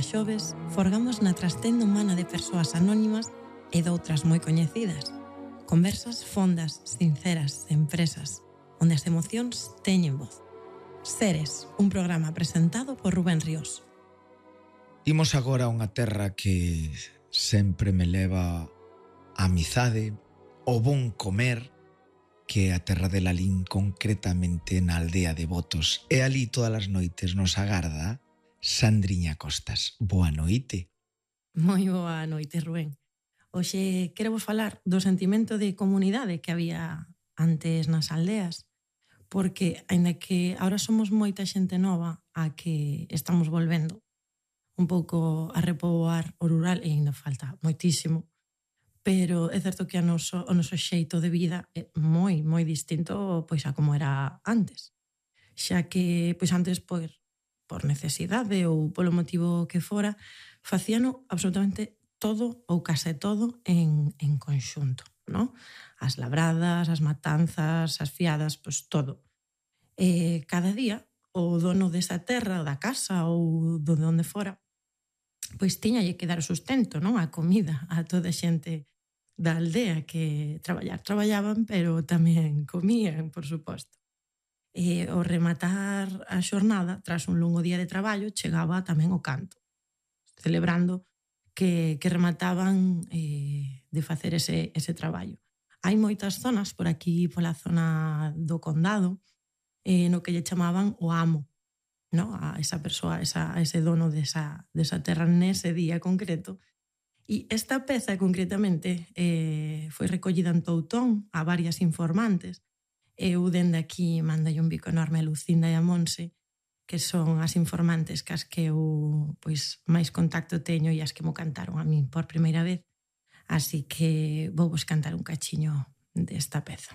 xoves forgamos na trastenda humana de persoas anónimas e doutras moi coñecidas. Conversas fondas, sinceras, empresas, onde as emocións teñen voz. Seres, un programa presentado por Rubén Ríos. Imos agora a unha terra que sempre me leva a amizade, o bon comer, que é a terra de Lalín, concretamente na aldea de Botos. E ali todas as noites nos agarda Sandriña Costas. Boa noite. Moi boa noite, Rubén. Hoxe quero vos falar do sentimento de comunidade que había antes nas aldeas, porque, aínda que agora somos moita xente nova a que estamos volvendo un pouco a repoboar o rural, e ainda falta moitísimo, pero é certo que o noso xeito de vida é moi distinto pois a como era antes. Xa que pois antes por necesidade ou polo motivo que fora, facíano absolutamente todo ou case todo en conxunto, ¿no? As labradas, as matanzas, as fiadas, pois todo. Cada día o dono desa terra, da casa ou de onde fora, pois tiñalle que dar o sustento, non? A comida a toda a xente da aldea que traballaban, pero tamén comían, por suposto. E ao rematar a xornada, tras un longo día de traballo, chegaba tamén o canto, celebrando que remataban de facer ese traballo. Hai moitas zonas por aquí, pola zona do condado, no que lle chamaban o amo, no? A esa persoa, a ese dono desa terra nese día concreto. E esta peza concretamente foi recollida en Toutón a varias informantes. Eu dende aquí mandalle un bico enorme a Lucinda e a Monse, que son as informantes cas que eu pois máis contacto teño e as que mo cantaron a min por primeira vez. Así que vou vos cantar un cachiño desta peza.